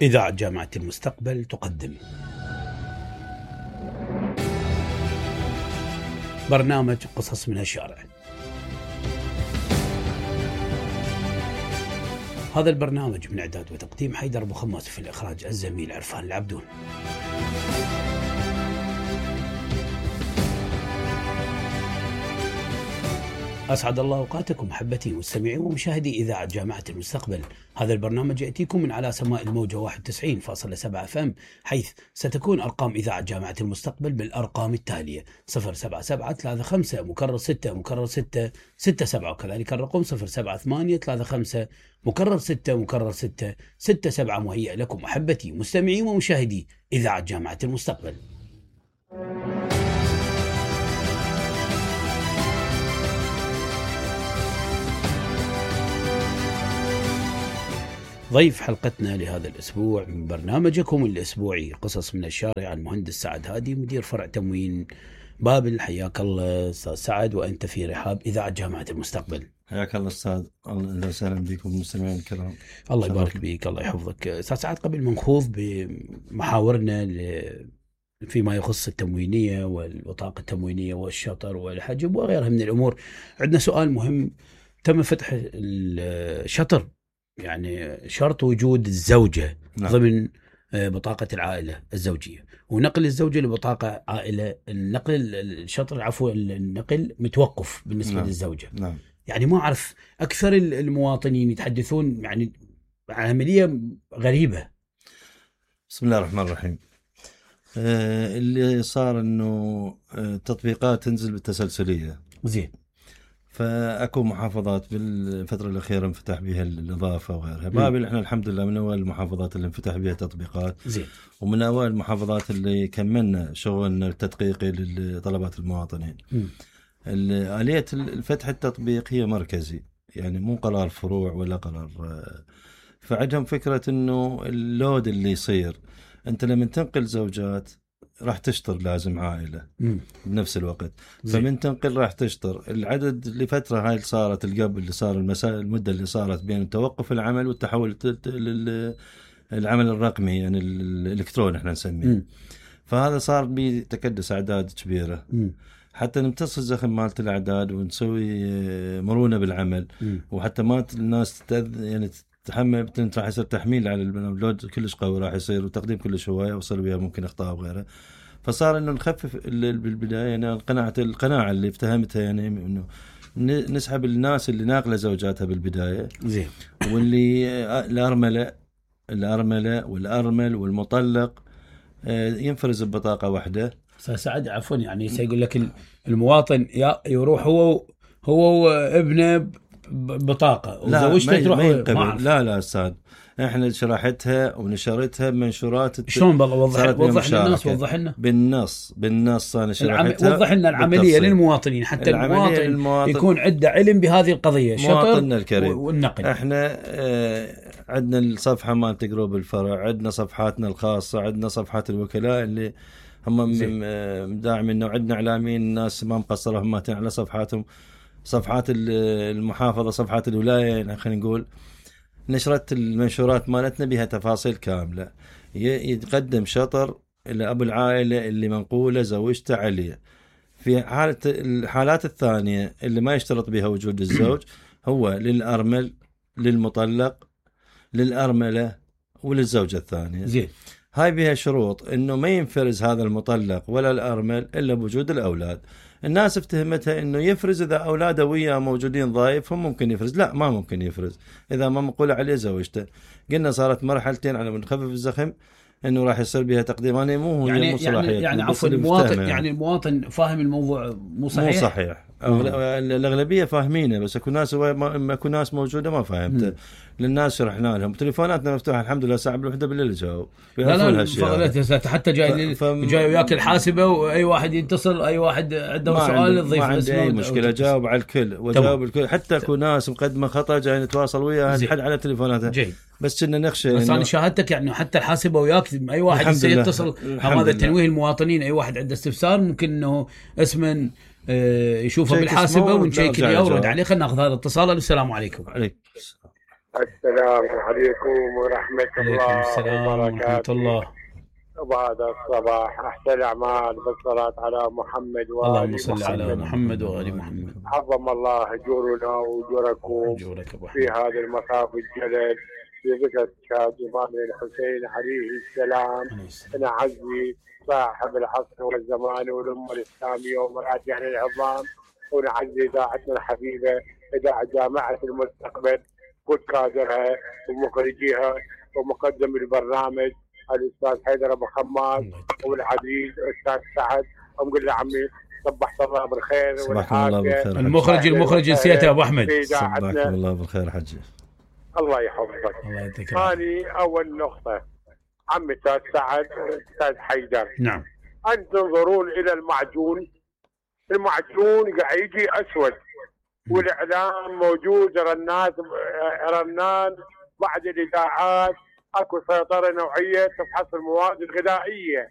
إذاعة جامعة المستقبل تقدم برنامج قصص من الشارع. هذا البرنامج من إعداد وتقديم حيدر أبو خماس، في الإخراج الزميل عرفان العبدون. أسعد الله أوقاتكم محبتي مستمعي ومشاهدي إذاعة جامعة المستقبل. هذا البرنامج يأتيكم من على سماء الموجة 91.7 FM، حيث ستكون أرقام إذاعة جامعة المستقبل بالأرقام التالية: 07735 مكرر 6 مكرر 6 67، وكذلك الرقم 07835 مكرر 6 مكرر 6 67. مهيئ لكم محبتي مستمعي ومشاهدي إذاعة جامعة المستقبل. ضيف حلقتنا لهذا الأسبوع من برنامجكم الأسبوعي قصص من الشارع المهندس سعد هادي، مدير فرع تموين بابل. حياك الله أستاذ سعد، وأنت في رحاب إذاعة جامعة المستقبل. حياك الله أستاذ، أهلا وسهلا بكم المستمعين الكرام. الله يبارك بك، الله يحفظك. أستاذ سعد، قبل ما نخوض بمحاورنا فيما يخص التموينية والبطاقة التموينية والشطر والحجب وغيرها من الأمور، عندنا سؤال مهم. تم فتح الشطر، يعني شرط وجود الزوجة ضمن بطاقة العائلة الزوجية، ونقل الزوجة لبطاقة عائلة، النقل الشطر عفوا النقل متوقف بالنسبة للزوجة. يعني ما أعرف، أكثر المواطنين يتحدثون يعني عملية غريبة. بسم الله الرحمن الرحيم. اللي صار إنه تطبيقات تنزل بالتسلسلية، زين، فأكو محافظات بالفترة الأخيرة انفتح بها الإضافة وغيرها. بابل احنا الحمد لله من أول المحافظات اللي انفتح بها تطبيقات، زين، ومن أول المحافظات اللي كملنا شغلنا التدقيقي لطلبات المواطنين. آلية الفتح التطبيق هي مركزي، يعني مو قرار فروع ولا قرار. فعندهم فكرة إنه اللود اللي يصير، أنت لما تنقل زوجات راح تشطر لازم عائلة بنفس الوقت، فمن تنقل راح تشطر العدد لفترة هاي اللي صارت القبل، اللي صار المدة اللي صارت بين توقف العمل والتحول للعمل الرقمي، يعني الإلكتروني احنا نسميه. فهذا صار بتكدس أعداد كبيرة حتى نمتص الزخم مالت الأعداد ونسوي مرونة بالعمل، وحتى ما الناس يعني تحمل، راح يصير تحميل على اللود كلش قوي راح يصير، وتقديم كلش هواية وصل بها ممكن اخطاء وغيرها. فصار انه نخفف بالبدايه، يعني القناعه اللي افتهمتها، يعني انه نسحب الناس اللي ناقله زوجاتها بالبدايه، زين، واللي الارمله والارمل والمطلق ينفرز ببطاقه واحده. سعد عفوا، يعني سيقول لك المواطن يروح هو وابنه بطاقة وزوجته تروح لا أستاذ، احنا شرحتها ونشرتها بمنشورات. شلون بالله؟ وضح للناس، وضح لنا بالنص انا شرحتها. وضح لنا العملية للمواطنين، حتى المواطن يكون عنده علم بهذه القضية، مواطننا الكريم والنقل. احنا عندنا الصفحة مال جروب الفرع، عندنا صفحاتنا الخاصة، عندنا صفحات الوكلاء اللي هم مداعمين، وعندنا اعلاميين الناس ما مقصرة هم على صفحاتهم، صفحات المحافظة، صفحات الولاية. يعني خلينا نقول نشرت المنشورات مالتنا بها تفاصيل كاملة. يتقدم شطر إلى أبو العائلة اللي منقولة زوجته عليه. في الحالات الثانية اللي ما يشترط بها وجود الزوج، هو للأرمل، للمطلق، للأرملة، وللزوجة الثانية. زين، هاي بها شروط إنه ما ينفرز هذا المطلق ولا الأرمل إلا بوجود الأولاد. الناس افتهمتها انه يفرز اذا اولاده وياه موجودين ضايف، هم ممكن يفرز. لا، ما ممكن يفرز اذا ما مقول عليه زوجته. قلنا صارت مرحلتين على من خفف الزخم، انه راح يصير بها تقديم. انا مو يعني عفوا المواطن، يعني المواطن فاهم الموضوع مو صحيح. الاغلبيه فاهمينه، بس اكو ناس موجوده ما فاهمته. للناس شرحنا لهم، تليفوناتنا مفتوحه الحمد لله، ساعه بالوحده بالليل جاوب. لا حتى جاي وياك الحاسبه، واي واحد يتصل، اي واحد عنده سؤال يضيف، ما عندي اي مشكله، جاوب على الكل وجاوب الكل. حتى اكو ناس مقدمه خطا جاي نتواصل وياها نحل على تليفوناتها، بس كنا نخشى. بس انا شاهدتك يعني حتى الحاسبه وياك، اي واحد يتصل. هذا تنويه المواطنين، اي واحد عنده استفسار ممكن انه اسمه يشوفه بالحاسبه ونشيك اللي يورد عليه. خلينا ناخذ هذا الاتصال. السلام عليكم. عليكم السلام عليكم ورحمة عليكم الله السلام ورحمة وبركاته. الله. وبهذا الصباح أحسن الأعمال بالصلاة على محمد اللهم وآل صل على محمد وآل محمد. عظم الله أجورنا وأجوركم أجورك أبو في أحمد. هذا المصاف الجلل في ذكر شهادة الإمام الحسين عليه السلام. نعزي صاحب العصر والزمان والأمة الإسلامية ومراجعنا العظام، ونعزي إذاعتنا الحبيبة إذاعة جامعة المستقبل كل كادرها ومخرجيها ومقدم البرنامج الأستاذ حيدر أبو خماس والعزيز الأستاذ سعد. ونقول له عمي صبحت الله بالخير صباحكم الله بالخير. المخرج نسيته أبو أحمد. صباحكم الله بالخير حجي. الله يحفظك. الله يعطيك ثاني أول نقطة عمي أستاذ سعد أستاذ حيدر، نعم. أن تنظرون إلى المعجون قاعد يجي أسود والإعلام موجود رنان بعد الإذاعات اكو سيطرة نوعية تفحص المواد الغذائية